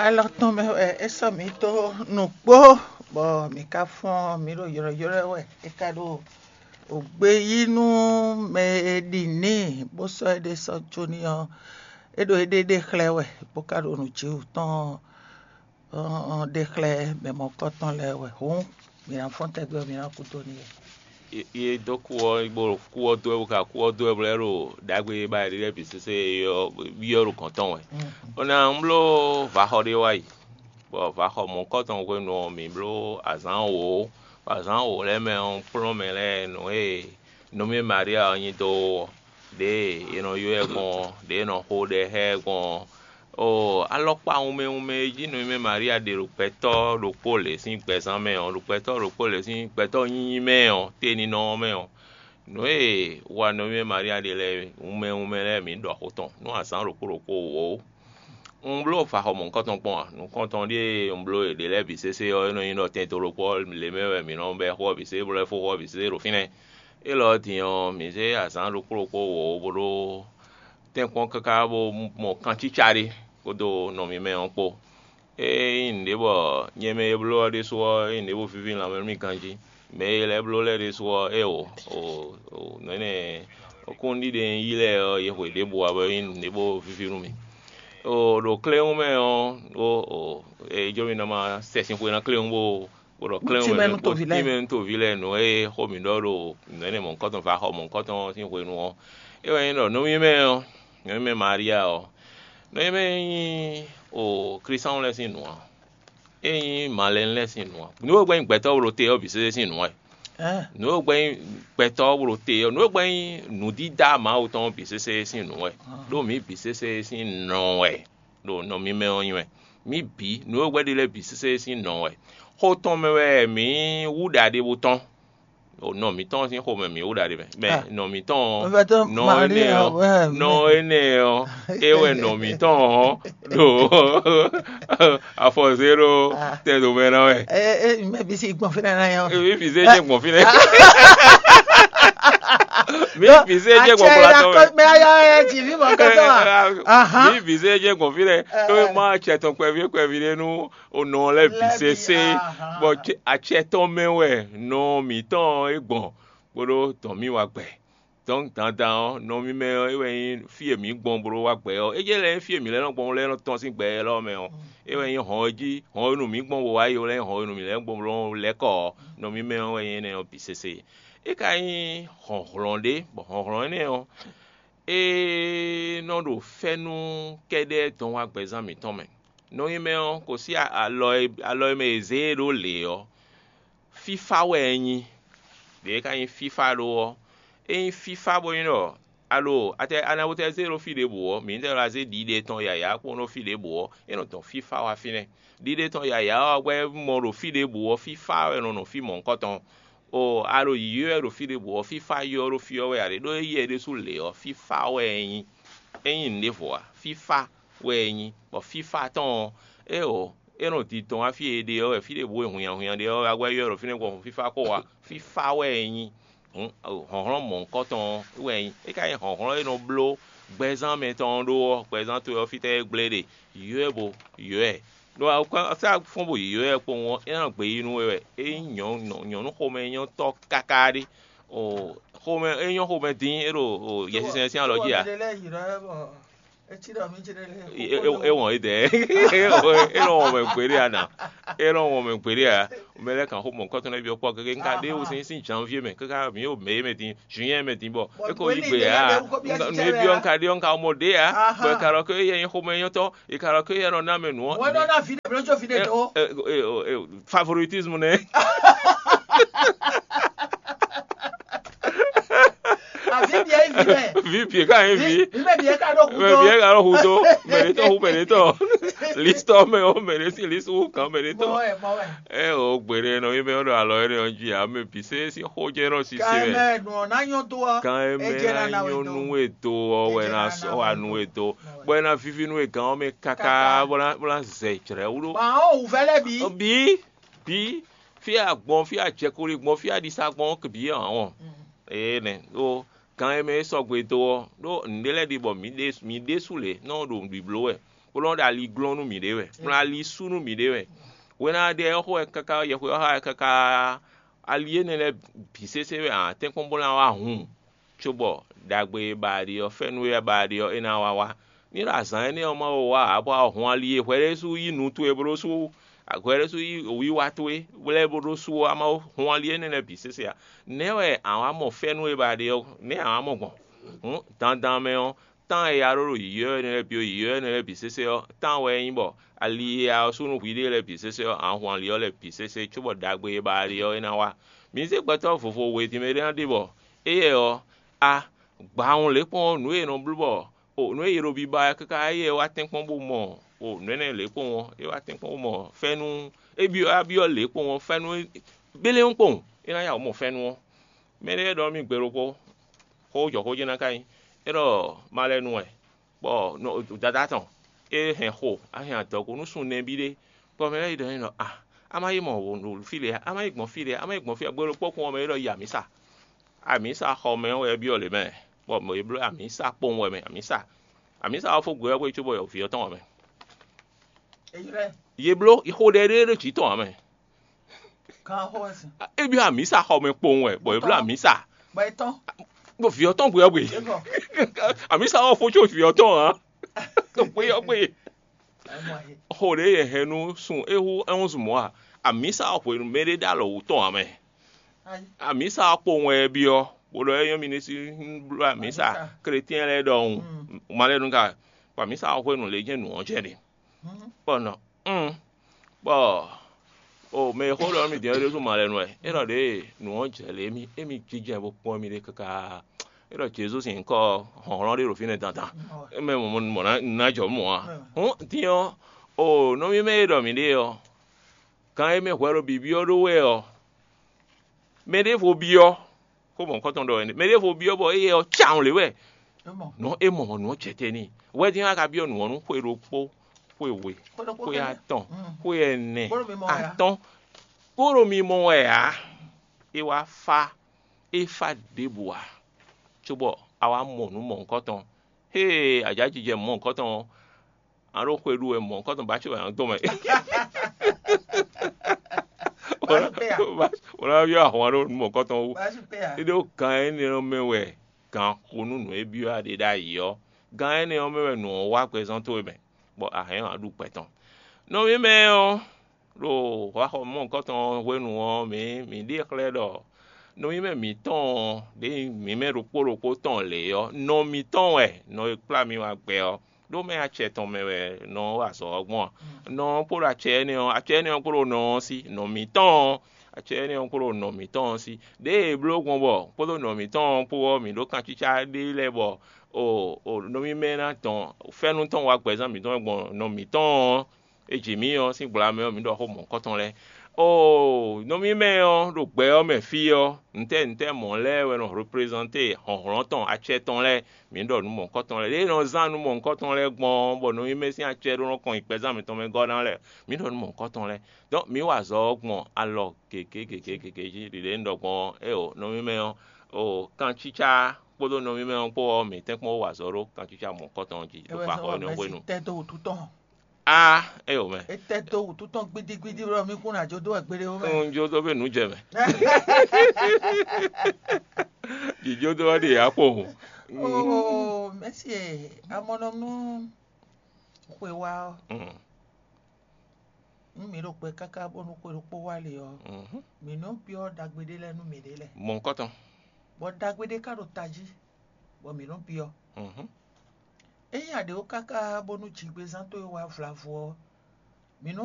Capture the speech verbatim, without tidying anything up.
Alɔ tɔn mɛ wɛ é sɔ́ mǐ dó nǔgbó, bɔ mǐ ka fɔ́n mǐ ɖo ylɔ́ylɔ́ wɛ. É ka ɖo gbe yí nú mɛ e ɖi n'i bó sɔ́ éɖée sɔ́ jó n'i ɔ́, é ɖo éɖée ɖe xlɛ́ wɛ, bó ka ɖo nǔjíwǔ tɔn ɖe xlɛ́ mɛ mɔ̌kɔtɔn lɛ́ɛ wɛ. Hǔn mǐ ná fɔ́n tɛgbɛ, mǐ ná kú dó n'i wɛ. Yě dó kú ɔ́, bó ɖo kú ɔ́ dó wɛ, bó ka kú ɔ́ dó wɛ, bó lɛ́ ɖo ɖagbe e ba yě ɖe lɛ́ɛ bǐ sésé é ɔ́ byɔ́ ɖo gɔ̌n tɔn wɛ. Bó ná un bló vaxɔ ɖé wá yi, bɔ vaxɔ mɔ̌kɔtɔn hwenu ɔ́, mǐ bló azǎn wǒ, bɔ azǎn wǒ lɛ́ɛ mɛ ɔ́, un kplɔ́n mɛ lɛ́ɛ nǔ e nɔví Maria ɔ́ nyi dó ɔ́, ɖěe è nɔ ylɔ́ ɛ gbɔn ɔ́, ɖěe è nɔ xo ɖɛ xá ɛ gbɔn ɔ́, Oo, alɔkpa wunmɛ wunmɛ e jí nɔnyiɖi Maria ɖe ɖo gbɛtɔ́ ɖokpó lě sín gbɛzán mɛ ɔ́, ɖo gbɛtɔ́ ɖokpó lě sín gbɛtɔ́ nyinyi mɛ ɔ́, teninɔ ɔ́ mɛ ɔ́, nǔ e wa nɔnyiɖi Maria ɖe lɛ́ɛ wunmɛ wunmɛ lɛ́ɛ mǐ ɖɔ xó tɔn nú azǎn ɖokpó ɖokpó wǒ. Un bló faxɔ mɔ̌hunkɔtɔn kpɔ́n a? Nǔkɔntɔn ɖíe un bló yě ɖe lɛ́ɛ bǐ sésé ɔ́, é nɔ nyí ɖɔ tɛn to ɖokpó ɔ́ lě mɛ wɛ mǐ nɔ bɛ́ xó ɔ́ bǐ sésé, bó lɛ́ fó xó ɔ́ bǐ sésé ɖo fínɛ́. Élɔ́ ɔ́ din ɔ́, mǐ zé azǎn ɖokpó ɖokpó wǒ bó ɖó tɛ́nkpɔ́n káká bó mɔ kancíca ɖé kpódó nɔ mímɛ́ ɔ́ kpó. Ée nyí nǔɖé bɔ nyɛ mɛ e bló ɔ́ ɖésú ɔ́, é nyí nǔɖé bó víví lanmɛ nú mì ganjí. Mɛ e lɛ́ bló lɛ́ɛ ɖésú ɔ́, é o, o, o nɔ̌ énɛ́ kúnɖíɖe e un yí lɛ́ɛ ɔ́, yě hwe ɖěbǔ ǎ bɔ é nyí nǔɖé bó víví nú mì. O ɖo kléwún mɛ ɔ́, ó o é jɔ mì nɔ ma sɛ sin xwe ná kléwún bó bó ɖɔ kléwún mɛ nú toví lɛ́ɛ nǔ e xó mǐ ɖɔ ɖo nǔ énɛ́ mɔ̌hunkɔtɔn va xɔ mɔ̌hunkɔtɔn ɔ́ sín hwenu ɔ́, é wɛ nyí ɖɔ nɔví mɛ ɔ́, nɔví mɛ Maria ɔ́, nɔví mɛ nyí o Klísáwun lɛ́ɛ sín nǔ ǎ, é nyí Malɛnu lɛ́ɛ sín nǔ ǎ. Nǔ e gbɛ́ nyí gbɛtɔ́ wlo te ɔ́ bǐ sésé sín nǔ wɛ. Nǔ e gbɛ́ nyí gbɛtɔ́ wlo te ɔ́, nǔ e gbɛ́ nyí nǔdídá Mawu tɔn ɔ́ bǐ sésé sín nǔ wɛ, ɖó mǐ bǐ sésé sín nɔ wɛ ɖo nɔ mímɛ́ ɔ́ nyi wɛ. Mǐ bǐ, nǔ e gbɛ́ ɖe lɛ́ɛ bǐ sésé sín nɔ wɛ. Xó tɔn mɛ wɛ mǐ wú ɖa ɖěvo tɔn. Nɔ mǐtɔn sín xomɛ mǐ wú ɖa ɖe mɛ. Mɛ nɔ mǐtɔn ɔ́, nɔ énɛ́ ɔ́, nɔ énɛ́ ɔ́, é wɛ nɔ mǐtɔn ɔ́ ɖo afɔ zé ɖó tɛn dǒ mɛ ná wɛ. Mɛ bǐ si gbɔn fínɛ́ ná yɔ. Mǐ bǐ zé jɛ gbɔn fínɛ́. Mǐ bǐ zé jɛ gbɔn gblatɔ mɛ. Mɛ ayɔ ɛ jì mí mɔ kɛtɔ a. Mǐ bǐ zé jɛ gbɔn fínɛ́. Tó é má acɛ tɔn kpɛví kpɛví ɖé nú onɔ lɛ́ɛ bǐ sésé, bɔ acɛ tɔn mɛ wɛ nɔ mǐtɔn é gbɔn, bó ɖó dɔn mì wá gbɛ. Dɔn dandan ɔ́, nɔ mímɛ́ ɔ́, é wɛ nyí fí e mǐ gbɔn bló wá gbɛ ɔ́. É jɛ lɛ́ɛ nyí fí e mǐ lɛ́ nɔ gbɔn lɛ́ nɔ tɔ́n sín gbɛ élɔ́ mɛ ɔ́. É wɛ nyí hɔn e jí, hɔn e nu mǐ gbɔn bo wá yi lɛ́ɛ nyí hɔn e nu mǐ lɛ́ gbɔn bló lɛ́ kɔ ɔ́, nɔ mímɛ́ ɔ́ wɛ nyí énɛ́ ɔ́ bǐ sésé. É ka nyí hlɔ̌nhlɔ́n ɖé, bɔ hlɔ̌nhlɔ́n énɛ́ ɔ́, é nɔ ɖo fɛ́nú kɛ́ɖɛ́ dɔn wá gbɛzán mǐtɔn mɛ. Nɔ nyí mɛ ɔ́, kò sí alɔ e alɔ e mɛ è zě e ɖó lě ɔ́, fífá wɛ é nyí. Ɖě é ka nyí fífá ɖó ɔ́, é nyí fífá bó nyí ɖɔ alo atɛ anabutɛ zé ɖó fí ɖěbǔ ɔ́, mǐ ní tɛ ɖo azé ɖiɖe tɔn yǎyá kpó ɖó fí ɖěbǔ ɔ́, é nɔ dɔn fífá wá fínɛ́. Ɖiɖe tɔn yǎyá ɔ́ wɛ mɔ ɖo fí ɖěbǔ ɔ́, fífá wɛ nɔ nɔ fí mɔ̌hunkɔtɔn. O a ɖo yǐyí wɛ ɖo fí ɖěbǔ ɔ́, fífá ylɔ́ ɖó fí ɔ́ wɛ ǎ ɖe, ɖó éyɛ́ ɖésú lě ɔ́, fífá wɛ é nyí. É nyí nǔɖévo ǎ, fífá wɛ é nyí, bɔ fífá tɔn ɔ́, é o é nɔ din tɔn wá fí e è ɖe ɔ́ wɛ, fí ɖěbǔ e hunnyahunnya ɖe ɔ́ wɛ, a gbɛ́ ylɔ́ ɖo fínɛ́ gbɔn fífá xó ǎ, fífá wɛ é nyí. Hlɔ̌nhlɔ́n mɔ̌hunkɔtɔn wɛ é nyí. É ka nyí hlɔ̌nhlɔ́n e nɔ bló gbɛzán mɛtɔn ɔ́ ɖó ɔ́, gbɛzán towe ɔ́ fítɛ́ é gblé ɖe? Ylɔ́ ɛ bo ylɔ́ ɛ. Ɖó a sá fɔ́n bo ylɔ́ ɛ kpowun ɔ́, é ná gbe yí nú we wɛ. É nyí nyɔ̌nu xomɛnyɔ́tɔ́ káká ɖé. Xomɛ é nyɔ́ xomɛ dín é ɖo Yɛsinsɛn sín alɔ jí ǎ. É wɔn é dɛ. É nɔ wɔn mɛ gbeɖé a nǎ. É nɔ wɔn mɛ gbeɖé a. Mɛ lɛ́ɛ kan xó mɔ̌hunkɔtɔn lɛ́ɛ byɔ́ kpɔ́ gege. Un ka ɖe wú sín sín janvier mɛ káká mǐ ɖo mɛ é mɛ din, juin mɛ din bɔ é ko yí gbe ǎ. Nǔ e byɔ́ un ka ɖe ɔ́, un ka mɔ ɖě ǎ. Bɔ è ka ɖɔ ké éyɛ́ nyí xomɛnyɔ́tɔn, è ka ɖɔ ké éyɛ́ nɔ ná mɛ nǔ ɔ́. Wɛn nɔ ná vi ɖě bló jó vi ɖě dó. Favoritisme nɛ́. Avi bia yi vi mɛ. Vi bie ka yin vi. Vi mɛ bia ka ɖo kudo. Mɛ bie ka ɖo kudo. Mɛ ɖe tɔ hu mɛ ɖe tɔ. Listɔ mɛ o mɛ ɖe si list wu kan mɛ ɖe tɔ. Mɔ wɛ mɔ wɛ. Ɛ o gbeɖe nɔ yi mɛ o ɖo alɔ yɛ nɔ dzi ame bi se si xo jɛ nɔ sisi Kan mɛ. Mɛ nɔ na nyɔ to ɔ. Kan mɛ na nyɔ nu we to ɔ wɛ na sɔ wa nu we to. Bɔ ena vivi nu we gan ɔmɛ kaka bɔ na bɔ na zɛ jrɛ wlo. Ba o wuvɛ lɛ bi. Bi bi fi agbɔn fi ajɛkuli gbɔn fi adisa gbɔn bi ɔn. Ee nɛ o gan e mɛ e sɔgbe do ɔ ɖó nǔɖé lɛ́ɛ ɖi bɔ mǐ ɖe mǐ ɖésú lě nɔ ɖo nǔɖibló wɛ. bó nɔ́ ɖo ali glɔ́n nú mǐɖée wɛ, bó nɔ́ ali sú nú mǐɖée wɛ. Hwena ɖé ɔ́ xo wɛ káká, yɛhwe ɔ́ xa wɛ káká, ali énɛ́ lɛ́ɛ bǐ sésé wɛ ǎ tɛ́nkpɔ́n bó ná wá hun, cóbɔ ɖagbe e ba a ɖe ɔ́, fɛ́nú e ba a ɖe ɔ́, é ná wá wá. Ní ɖo azǎn énɛ́ ɔ́ ma wá ǎ, bɔ a hun ali e hwɛ ɖésú yí nu towe bó ɖó sú hwɛ ɖésú yí wiwa towe lɛ́ɛ bó ɖó sú ɔ́, a ma hun ali énɛ́ lɛ́ɛ bǐ sésé ǎ. Nɛ̌ wɛ a wǎ mɔ fɛ́nú e ba a ɖe ɔ́, nɛ̌ a wǎ mɔ gbɔn? Hǔn dandan mɛ ɔ́, tán e a ɖó ɖo yǐyɔ́ énɛ́ lɛ́ɛ bǐ, yǐyɔ́ énɛ́ lɛ́ɛ bǐ sésé ɔ́, tán wɛ é nyí bɔ ali e a ɔ́ sú nú hwiɖée lɛ́ɛ bǐ sésé ɔ́, a hun ali ɔ́ lɛ́ɛ bǐ sésé cóbɔ ɖagbe e ba a ɖe ɔ́, é ná wá. Mǐ zé gbɛtɔ́ vovo we din mɛ ɖé ná ɖe bɔ éyɛ́ ɔ́, a gbǎhun lě kpɔ́n nǔ e è nɔ bló bɔ o nǔ e è ɖo biba wɛ káká éyɛ́ wá tɛ́nkpɔ́n bó mɔ o nǔ énɛ́ lě kpɔ́n ɔ́, é wá tɛ́nkpɔ́n bó mɔ fɛ́nú é byɔ́ a byɔ́ lě kpɔ́n ɔ́, fɛ́nú gbélé kpɔ́n é ná ya wǔ mɔ fɛ́nú ɔ́. Mɛ ɖé ɖɔ nú mì gbe ɖokpó, xó jɔ xó jɛ́n ná ka nyí, é ɖɔ malɛnu wɛ, bɔ dadá tɔn é hɛn xo, a hɛn adɔgo nú sun nɛbí ɖé, bɔ mɛ lɛ́ɛ yi ɖɔ n'i ɖɔ a, a ma yi mɔ fí lě a, a ma yi gbɔn fí lě a, a ma yi gbɔn fí a, gbe ɖokpó kún ɔ́ mɛ é ɖɔ yi amǐsa. Amǐsa xɔ mɛ ɔ́ wɛ é byɔ́ lě mɛ, bɔ mɔ̌ é bló amǐsa kpowun wɛ mɛ, amǐsa. Amǐsa ɔ́ fó gbe ɔ́ xwé cóbɔ vǐ ɔ́ tɔn wɛ mɛ. Yě bló xo ɖɛ ɖé ɖo jǐ tɔn ǎ mɛ. É byɔ́ amǐsa xɔ mɛ kpowun wɛ, bɔ é bló amǐsa. Bɔ vǐ ɔ́ tɔn gbe ɔ́ gbe. Amǐsa ɔ́ fó có vǐ ɔ́ tɔn ǎ. Gbe ɔ́ gbe. Xo ɖě yɛ hɛn nú sun é hú ɛ́wúnzun mɔ̌ a? Amǐsa ɔ́ hwenu mɛ ɖé ɖó alɔ wǔ tɔn ǎ mɛ. Amǐsa ɔ́ kpowun wɛ é byɔ́, bó ɖɔ é nyɔ́ mi ní sí bló amǐsa. Kletyɛn lɛ́ɛ ɖɔhun. Malɛnu ka, bɔ amǐsa ɔ́ hwenu lě jɛ́n nǔ ɔ́ jɛ ɖe. Bɔ nɔ, un, bɔ o mɛ e xó ɖɔ nú mì din ɔ́ ɖésú malɛnu wɛ. É ɖɔ ɖěe nǔ ɔ́ jɛ lě émí émí jínjɔ́n ɛ bó kpɔ́n mì ɖe káká. É ɖɔ Jezu sín nyǐkɔ ɔ́, hlɔ̌nhlɔ́n ɖé ɖo fínɛ́ dandan. É mɛ mɔ mɔ ná jɔ mɔ ǎ. Hǔn din ɔ́, o nɔví mɛ e ɖɔ mǐ ɖe ɔ́, gan e mɛ hwɛ ɖo bǐbyɔ́ ɖó wɛ ɔ́, mɛ ɖěvo byɔ́, xó mɔ̌hunkɔtɔn ɖɔ wɛ nɛ́. Mɛ ɖěvo byɔ́ bɔ éyɛ́ ɔ́ cawun lě wɛ. Nɔ é mɔ nǔ ɔ́ jɛ te n'i. Hwɛdín a ka byɔ́ nǔ ɔ́ nú xwe ɖokpó, xwe we, xwe atɔn, xwe ɛnɛ, atɔ́n, bó ɖo mimɔ wɛ ǎ. É wá fá, é fá ɖěbǔ ǎ, cóbɔ a wá mɔ nǔ mɔ̌hunkɔtɔn. Hée a jǎ jijɛ mɔ̌hunkɔtɔn ɔ́, a ɖo xwe ɖu wɛ mɔ̌hunkɔtɔn ba ce wɛ a nɔ dɔn mɛ. Wǒ ná byɔ́ ahwan ɖó nǔ mɔ̌hunkɔtɔn wú. É ɖó gan énɛ́ ɔ́ mɛ wɛ gan xo nú nǔ e byɔ́ a ɖe ɖ'ayǐ ɔ́. Gan énɛ́ ɔ́ mɛ wɛ nǔ ɔ́ wá gbɛzán towe mɛ, bɔ a hɛn ɔ́ a ɖu gbɛ tɔn. Nɔví mɛ ɔ́, ɖo hwaxɔ mɔ̌hunkɔtɔn hwenu ɔ́, mǐ mǐ ɖe xlɛ́ ɖɔ nɔví mɛ mǐtɔn ɔ́, ɖěe nyí mǐ mɛ ɖokpó ɖokpó tɔn lě ɔ́, nɔ mǐtɔn wɛ nɔ e kplá mi wá gbɛ ɔ́. Ɖó mɛ acɛ tɔn mɛ wɛ nɔ ɔ́ wa azɔ̌ ɔ́ gbɔn a? Nɔ ɔ́ kpo ɖo acɛ énɛ́ ɔ́, acɛ énɛ́ ɔ́ kpo ɖo nɔ ɔ́ sí, nɔ mǐtɔn ɔ́, acɛ énɛ́ ɔ́ kpo ɖo nɔ mǐtɔn ɔ́ sí. Ɖěe è bló gbɔn bɔ kpódó nɔ mǐtɔn ɔ́ kpó ɔ́, mǐ ɖó kancícá ɖé lɛ́ɛ bɔ o o nɔví mɛ ná dɔn fɛ́nú tɔn wá gbɛzán mǐtɔn gbɔn nɔ mǐtɔn ɔ́, e jǐ mì ɔ́ sín gbla mɛ ɔ́, mǐ ɖɔ xó mɔ̌hunkɔtɔn lɛ́ɛ. Oo, nɔví mɛ ɔ́ ɖo gbɛ ɔ́ mɛ fí ɔ́, ntɛ́ ntɛ́ mɔ̌ lɛ́ɛ wɛ nɔ reprezante hlɔ̌nhlɔ́n tɔn acɛ tɔn lɛ́ɛ. Mǐ ɖɔ nǔ mɔ̌hunkɔtɔn lɛ́ɛ. Lě e nɔ zán nǔ mɔ̌hunkɔtɔn lɛ́ɛ gbɔn ɔ́, bɔ nɔví mɛ sín acɛ ɖó nɔ kɔn nyi gbɛzán mǐtɔn mɛ gɔ́ ná lɛ́ɛ, mǐ ɖɔ nǔ mɔ̌hunkɔtɔn lɛ́ɛ. Dɔn mǐ wa azɔ̌ ɔ́ gbɔn alɔ gěgé gěgé gěgé jí. Ɖiɖě un ɖɔ gbɔn ɔ́, éeǒ, nɔví mɛ ɔ́, oo, kancícá kpódó nɔví mɛ ɔ́ kpó ɔ́, mǐ tɛ́nkpɔ́n wa azɔ̌ ɖó kancícá mɔ̌hunkɔtɔn jí ɖo xaxɔ énɛ́ hwenu. Tɛ́ dó wǔtu tɔn. A, é o mɛ. É tɛ́ dó wǔtu tɔn gbídígbídí bɔ mí kún ná jó dó wɛ gbeɖé ó mɛ. Un jó dó fé nǔ jɛ mɛ. Jǐjó dó wá ɖe yǎ kpo hǔn. Oo, mɛsi e, amɔnɔmú xwe wá ɔ́. Mm. Nú mǐ ɖo kpɛ káká bónú xwe ɖokpó wá le ɔ́, Mhm. mǐ nɔ byɔ́ ɖagbe ɖé lɛ́ɛ nú mǐɖée lɛ́ɛ. Mɔ̌hunkɔtɔn. Bɔ ɖagbe ɖé ka ɖo tají, bɔ mǐ nɔ byɔ́. Mhm. Ényí a ɖě ó káká bónú jigbezán towe wá vlavo ɔ́, mǐ nɔ